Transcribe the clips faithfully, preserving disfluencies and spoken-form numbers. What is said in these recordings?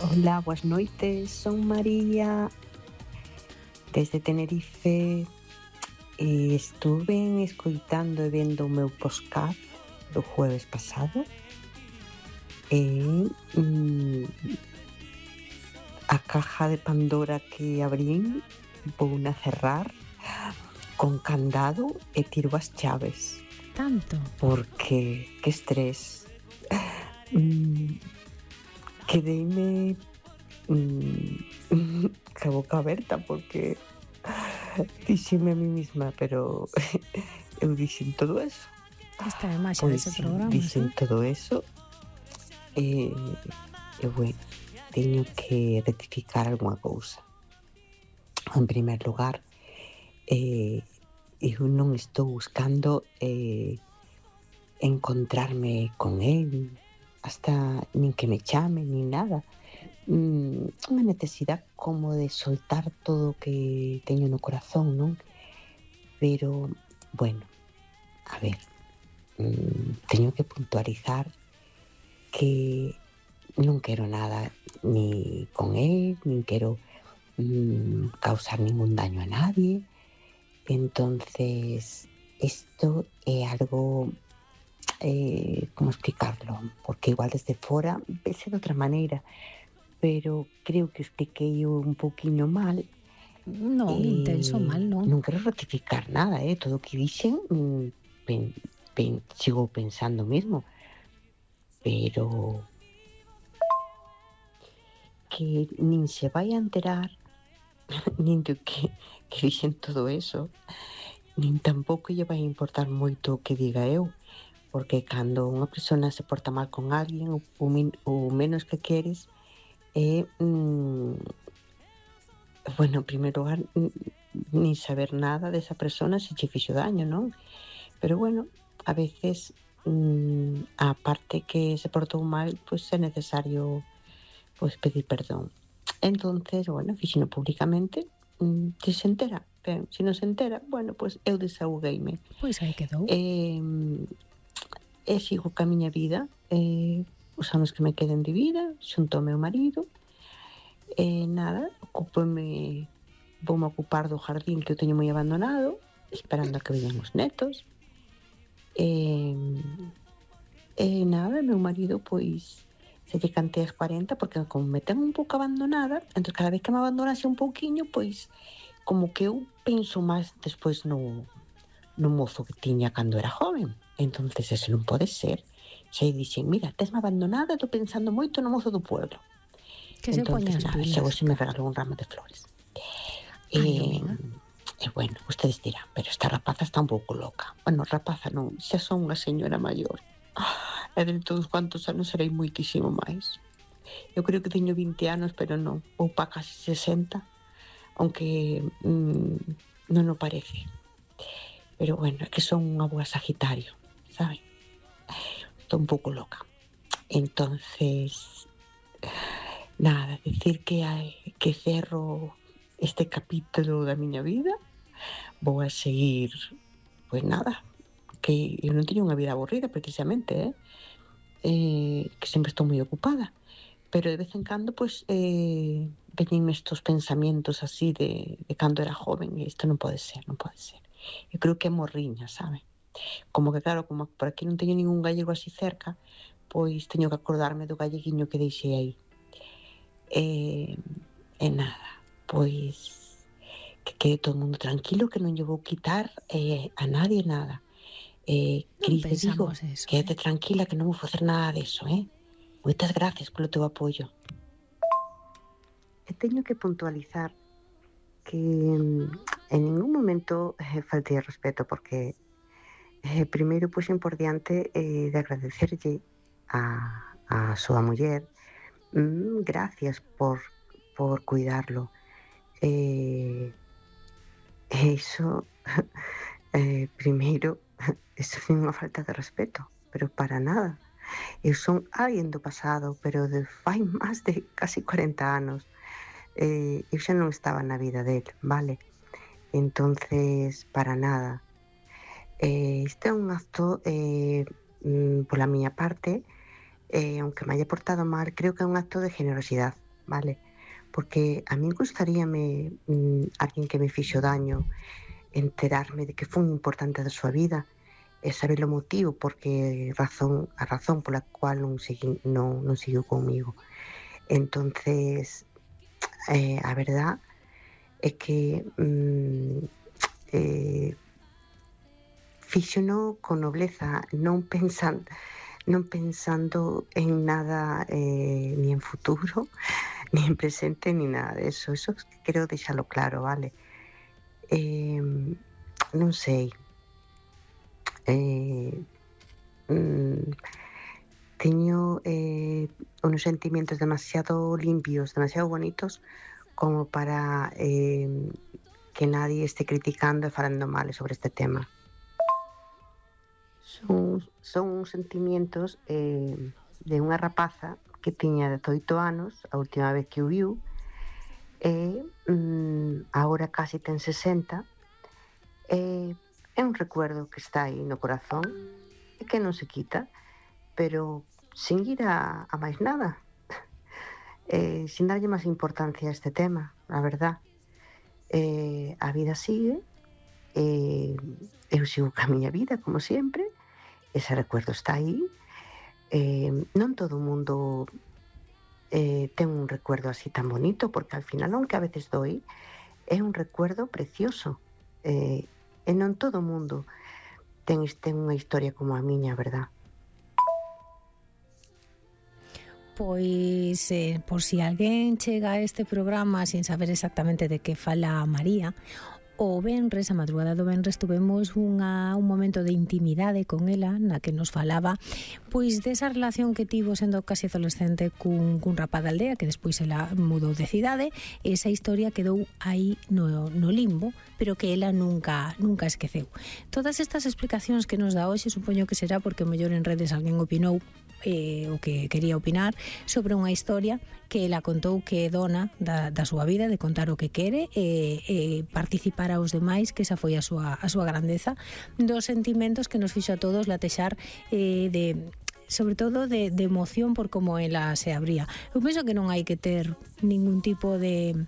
Hola, boas noites, son María desde Tenerife e estuve escoitando e vendo o meu podcast do jueves pasado e mm, a caja de Pandora que abrín vouna cerrar con candado e tiro as chaves. Tanto? Porque, que estrés. Mm, quedeime mm, ca boca aberta porque dixeme a mí misma, pero eu dixen todo eso. Esta é a maxia Pois dese sí, programa, dixen sí? todo eso e, e bueno, teño que rectificar algunha cousa. En primer lugar, eh, eu non estou buscando eh, encontrarme con el, hasta nin que me chame, nin nada. Mm, unha necesidade como de soltar todo o que teño no corazón, non? Pero, bueno, a ver, mm, teño que puntualizar que non quero nada ni con el, nin quero mm, causar ningún daño a nadie. Entonces, esto é algo, eh, como explicarlo? Porque igual desde fora vese de outra maneira, pero creo que expliquei un pouquiño mal. Non, intenso Eh, mal non. non quero rectificar nada, eh? Todo o que dixen mm, pen, pen, sigo pensando mesmo, pero que nin se vai a enterar nin de que, que dixen todo eso, nin tampouco lle vai a importar moito o que diga eu, porque cando unha persona se porta mal con alguén, o, o, min, o menos que queres é mm, bueno, en primeiro lugar nin saber nada desa persona se che fixo daño, non? Pero bueno, a veces mmm, a parte que se portou mal, pois pues, é necesario pois pues, pedir perdón. Entonces, bueno, fixino públicamente, mmm, se se entera, ben, se non se entera, bueno, pois pues, eu desahogueime. Pois aí quedou. E, e sigo ca miña vida, e, os anos que me queden de vida, xunto ao meu marido, e nada, ocúpome, voume ocupar do jardín que eu teño moi abandonado, esperando a que veñan os netos. E, e nada, meu marido pois se lle cantei as cuarenta porque como me ten un pouco abandonada, entón cada vez que me abandonase un pouquiño, pois como que eu penso máis despois no, no mozo que tiña cando era joven. Entonces eso non pode ser. Xe dixen, mira, tesme abandonada, estou pensando moito no mozo do pueblo. Que se poña as nada, pilas. xa hoxe me regalou un ramo de flores. Ai, E, amiga. e bueno, ustedes dirán, pero esta rapaza está un pouco loca. Bueno, rapaza non, xa son unha señora maior. E de todos cuantos anos serei moitísimo máis. Eu creo que teño vinte anos, pero non, ou pa casi sesenta, aunque mm, non o parece. Pero bueno, é que son unha boa Sagitario, saben? Estou un pouco loca. Entonces, nada, decir que hai, que cerro este capítulo da miña vida, vou a seguir, pois nada, que eu non teño unha vida aburrida precisamente, eh? Eh, que sempre estou moi ocupada, pero de vez en cando pois eh, veñenme estos pensamientos así de, de cando era joven e isto non pode ser, non pode ser. Eu creo que é morriña, sabe? Como que claro, como por aquí non teño ningún gallego así cerca, pois teño que acordarme do galleguiño que deixei aí. E, e nada, pois que quede todo o mundo tranquilo, que non lle vou quitar eh, a nadie nada. Eh, Cris de Vigo, eso, quédate eh? tranquila que non vou facer nada deso, eh? Moitas gracias polo teu apoio. E teño que puntualizar que en ningún momento eh, faltei de respeto porque eh, primeiro puxen por diante eh, de agradecerlle a, a súa muller mm, gracias por, por cuidarlo. Eh, iso eh, primeiro iso é unha falta de respeto, pero para nada. Eu son alguén do pasado, pero de fai máis de casi cuarenta anos. Eh, eu xa non estaba na vida del, vale? Entonces, para nada. Eh, este é un acto eh, mm, pola miña parte, eh, aunque me haya portado mal, creo que é un acto de generosidade. vale? Porque a mí gustaríame mm, alguén que me fixo daño, enterarme de que foi importante da súa vida e saber o motivo porque razón, a razón pola cual non, segui, non, non seguiu comigo. Entonces, eh, a verdad é que mm, eh, fíxono con nobleza, non pensando, non pensando en nada, eh, ni en futuro, ni en presente, ni nada de eso. Eso quero deixalo claro, vale? Eh, non sei. Eh, mm, teño eh, unos sentimientos demasiado limpios, demasiado bonitos como para eh, que nadie esté criticando e falando mal sobre este tema. Son, son sentimientos eh, de unha rapaza que tiña dezoito anos a última vez que o viu e mm, agora casi ten sesenta e é un recuerdo que está aí no corazón e que non se quita, pero sin ir a, a máis nada, eh, sin darlle máis importancia a este tema, a verdad. Eh, a vida sigue, eh, eu sigo ca miña vida, como sempre, ese recuerdo está aí, eh, non todo o mundo eh, ten un recuerdo así tan bonito, porque al final, aunque a veces doi, é un recuerdo precioso, eh, e non todo o mundo ten, ten unha historia como a miña, verdad? Pois, eh, por si alguén chega a este programa sin saber exactamente de que fala María, o venres, a madrugada do venres, tuvemos unha, un momento de intimidade con ela na que nos falaba pois desa relación que tivo sendo casi adolescente cun, cun rapaz da aldea que despois ela mudou de cidade. Esa historia quedou aí no, no limbo, pero que ela nunca nunca esqueceu. Todas estas explicacións que nos dá hoxe supoño que será porque mellor en redes alguén opinou eh, o que quería opinar sobre unha historia que ela contou que é dona da, da súa vida, de contar o que quere e, e participar aos demais, que esa foi a súa, a súa grandeza, dos sentimentos que nos fixo a todos latexar eh, de sobre todo de, de emoción por como ela se abría. Eu penso que non hai que ter ningún tipo de,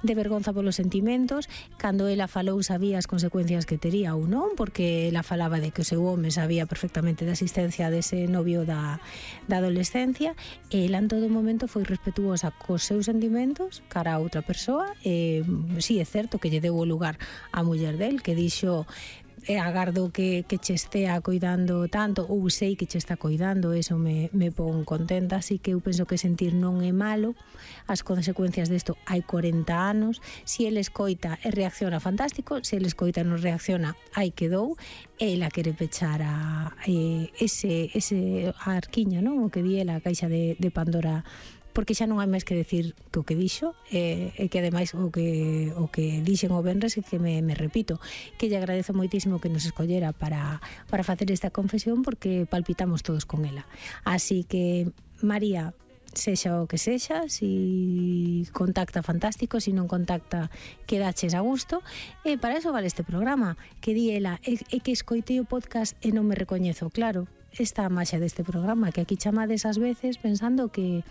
de vergonza polos sentimentos. Cando ela falou sabía as consecuencias que tería ou non, porque ela falaba de que o seu home sabía perfectamente da existencia dese novio da, da adolescencia, e ela en todo momento foi respetuosa cos seus sentimentos cara a outra persoa. E si é certo que lle deu o lugar á muller del, que dixo e agardo que, que che estea coidando tanto, ou sei que che está coidando, eso me, me pon contenta. Así que eu penso que sentir non é malo. As consecuencias desto hai corenta anos. Si ele escoita e reacciona, fantástico. Si ele escoita e non reacciona, aí quedou. Ela quere pechar a, eh, ese, ese a arquiña, non? O que di ela, a caixa de, de Pandora, porque xa non hai máis que decir que o que dixo, e, e que ademais o que o que dixen o venres, e que me, me repito, que lle agradezo moitísimo que nos escollera para, para facer esta confesión, porque palpitamos todos con ela. Así que, María, sexa o que sexa, si contacta, fantástico, si non contacta, quedaches a gusto, e para eso vale este programa, que di ela, e, e que escoitei o podcast e non me recoñezo, claro, esta maxa deste programa, que aquí chamades ás veces pensando que,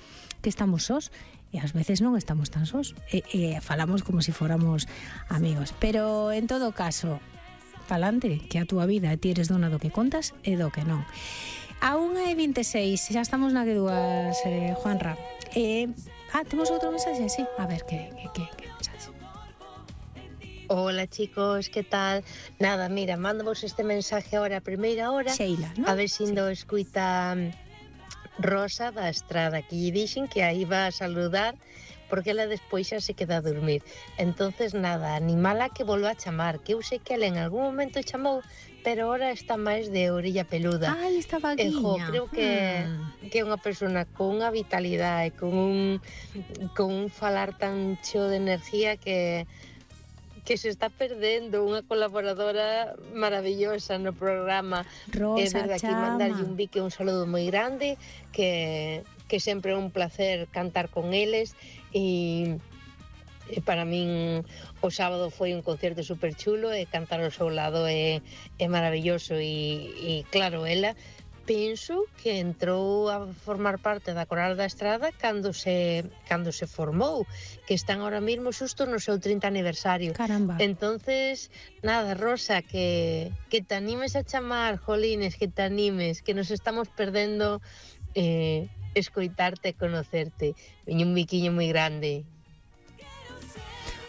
que estamos sós, e ás veces non estamos tan sós, e, e falamos como se si fóramos amigos. Pero en todo caso, palante, que a túa vida ti eres dona do que contas e do que non. A unha e vinte e seis, xa estamos na que dúas, eh, Juanra. Eh, ah, temos outro mensaxe? Sí, a ver, que, que, que, que mensaxe? Hola chicos, ¿qué tal? Nada, mira, mándavos este mensaje ahora a primeira hora, Sheila, ¿no? A ver se indo sí. escuita Rosa da Estrada, que lle dixen que aí va a saludar porque ela despois xa se queda a dormir. Entonces nada, animala que volva a chamar, que eu sei que ela en algún momento chamou, pero ahora está máis de orilla peluda. Ai, está vaguiña. Ejo, creo que, hmm. que é unha persona con unha vitalidade, con un, con un falar tan cheo de energía que que se está perdendo unha colaboradora maravillosa no programa. Rosa, é verdade, aquí chama. mandarlle un bique, un saludo moi grande, que, que sempre é un placer cantar con eles, e, e para min o sábado foi un concerto super chulo, e cantar ao seu lado é, é maravilloso, e, e claro, ela penso que entrou a formar parte da Coral da Estrada cando se cando se formou, que están ahora mesmo xusto no seu trinta aniversario. Caramba. Entonces, nada, Rosa, que, que te animes a chamar, jolines, que te animes, que nos estamos perdendo eh, escoitarte e conocerte. Veño un biquiño moi grande.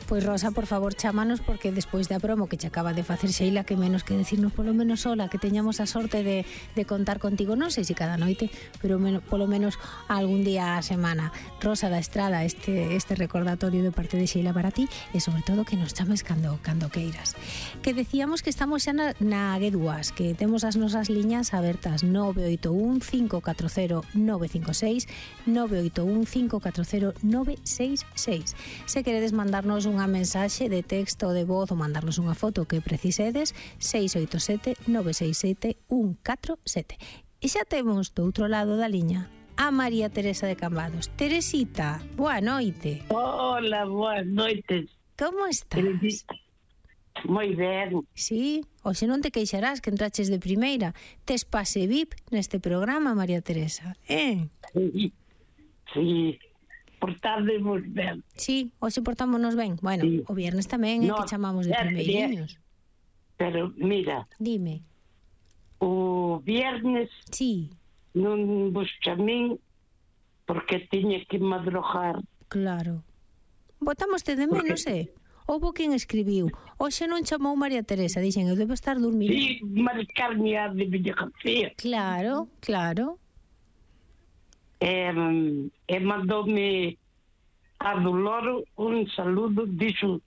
Pois Rosa, por favor, chámanos, porque despois da promo que che acaba de facer Sheila, que menos que decirnos polo menos sola, que teñamos a sorte de, de contar contigo, non sei se cada noite, pero men, polo menos algún día a semana. Rosa da Estrada, este, este recordatorio de parte de Sheila para ti, e sobre todo que nos chames cando, cando queiras. Que decíamos que estamos xa na, na G dúas, que temos as nosas liñas abertas nove oito un, cinco catro cero, nove cinco seis, nove oito un, cinco catro cero, nove seis seis. Se queredes mandarnos un unha mensaxe de texto ou de voz ou mandarnos unha foto que precisedes, seis oito sete, nove seis sete, un catro sete. E xa temos do outro lado da liña a María Teresa de Cambados. Teresita, boa noite. Hola, boas noites. Como estás? Moi ben. Sí, hoxe non te queixarás que entraches de primeira. Tes pase V I P neste programa, María Teresa, eh? Sí, sí. Portámonos ben. Sí, hoxe portámonos ben. Bueno, sí. O viernes tamén é no, que chamamos de primeiriños. Pero mira, dime. O viernes sí. Non vos chamín porque tiña que madrugar. Claro. Botámoste de menos, porque... eh? Houbo quen escribiu, hoxe non chamou María Teresa, dixen, eu debo estar dormindo. Sí, marcarme a de Villa García. Claro, claro. E, e mandoume a Doloro un saludo, dixo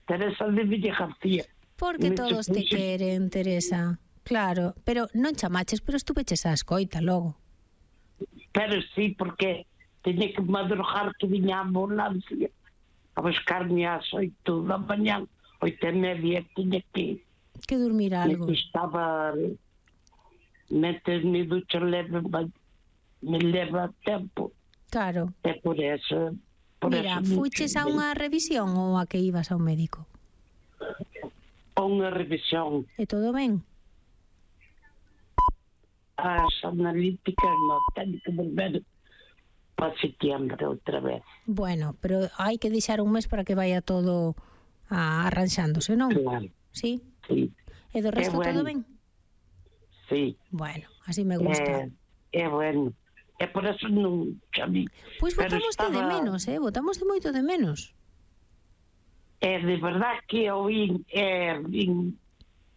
Teresa de Villa García. Porque todos te queren, Teresa. Claro, pero non chamaches, pero estuveches a escoita logo. Pero sí, porque teña que madrugar, que viña a ambulancia a buscarme ás oito da mañá, oito e media, tiña que que dormir algo. Me estaba metes me ducha leve, me leva tempo. Claro. É por eso. Por Mira, eso fuches a unha revisión ou a que ibas ao médico? A unha revisión. E todo ben? As analíticas non, teño que volver para setembro outra vez. Bueno, pero hai que deixar un mes para que vaya todo a arranxándose, non? Claro. Sí? Sí. E do resto bueno. Todo ben? Sí. Bueno, así me gusta. É, é bueno. É por eso non chamí. Pois botamos estaba... de menos, eh? Botamos de moito de menos. É de verdad que eu vin, é, vin,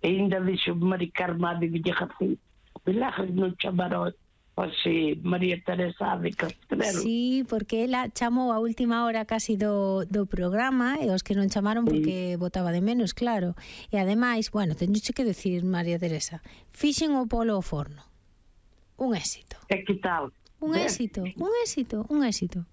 ainda dixo Mari Carmá de Villa García. Milagres non chamaron hoxe María Teresa de Castrelo. Sí, porque ela chamou a última hora casi do, do programa e os que non chamaron porque sí. Botaba de menos, claro. E ademais, bueno, teñoche que decir, María Teresa, fixen o polo ao forno. Un éxito. E que tal? Un éxito, un éxito, un éxito.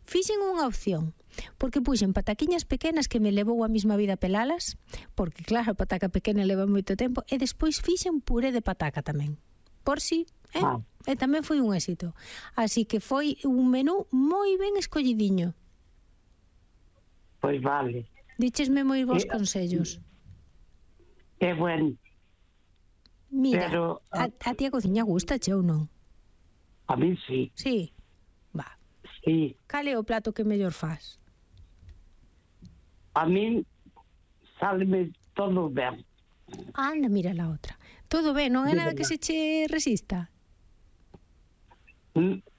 Fixen unha opción, porque puxen pataquiñas pequenas que me levou a mesma vida pelalas, porque claro, a pataca pequena leva moito tempo, e despois fixen puré de pataca tamén. Por si, eh? Ah. E tamén foi un éxito. Así que foi un menú moi ben escollidiño. Pois vale. Díchesme moi bons e, consellos. É bueno. Mira, Pero, a, a ti a cociña gusta, che ou non? A mí sí. Sí, va. Sí. Cal é o plato que mellor faz? A mí sáleme todo ben. Anda, mira la outra. Todo ben, non é nada que se che resista?